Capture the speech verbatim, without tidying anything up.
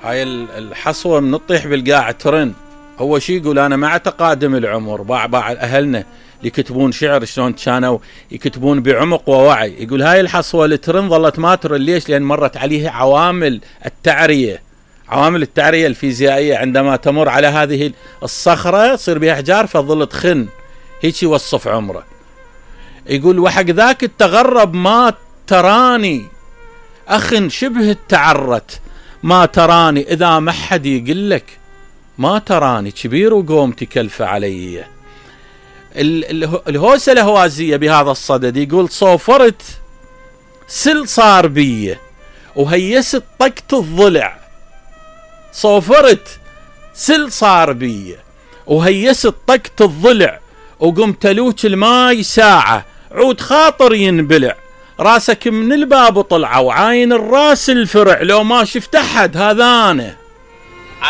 هاي الحصوة من تطيح بالقاع ترن. هو شي يقول أنا مع تقادم العمر باع باع أهلنا اللي يكتبون شعر شلون كانوا يكتبون بعمق ووعي، يقول هاي الحصوة اللي ترن ظلت ما ترن. ليش؟ لأن مرت عليها عوامل التعرية، عوامل التعرية الفيزيائية. عندما تمر على هذه الصخرة تصير بها أحجار فظل تخن، هيك يوصف عمره. يقول وحق ذاك التغرب ما تراني أخ شبه التعرت، ما تراني إذا ما حد يقول لك ما تراني كبير وقومتي كلفة علي. الهوسة الهوازية بهذا الصدد يقول صوفرت سل صار بيه وهيست طقت الضلع، صوفرت سل صار بيه وهيست طقت الضلع، وقمت لوك الماي ساعة عود خاطر ينبلع، راسك من الباب طلع وعاين الراس الفرع، لو ما شفت أحد هذا أنا.